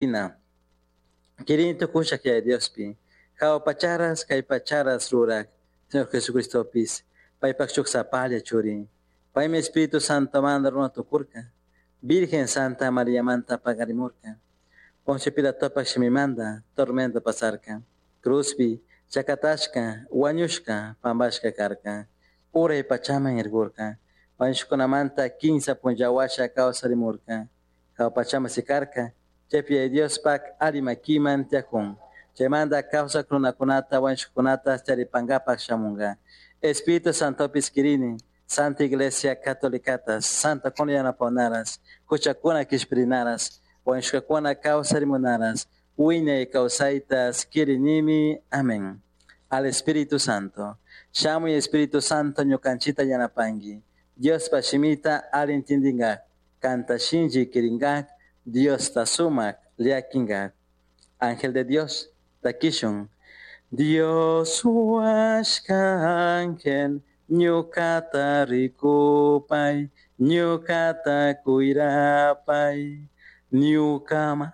Quirini tucushaj Yaya Diospi, jahua pacharas kay pacharas ruraj, Señor Jesucristopis, paypaj shuk sapalla churi. Paymi Espíritu Santomanta runa tukurka, Virgen Santa Mariamanta paqarimurka. Poncio Pilatopaj shimimanta tormento pasarka. Cruzpi chakatashka, wañushka, pampashka karka. Uray pachaman irkurka. Wañushkakunamanta kimsa punlla washa kawsarimurka. Jahua pachaman sikarka, chaypi Yaya Diospaj alli makiman tiyakun. Chaymanta kawsak runakunata wañushkakunata charipankapaj shamunka. Espíritu Santopis kirini, Santa Iglesia Catolicatas, Santa kuna yanapawanaras, huchakuna kishpirinaras, wañushkakuna kawsarimunaras, wiñay kawsaytas kirinimi. Amén. Al Espíritu Santo. Shamuy Espíritu Santo ñukanchita yanapanki. Diospa shimita alli intindinkak, kanta shinchi kirinkak, Diosta sumak llakinkak. Ángel de Dios, takishun. Dios huashka ángel, ñukata rikupay, ñukata kuyrapay, ñuka.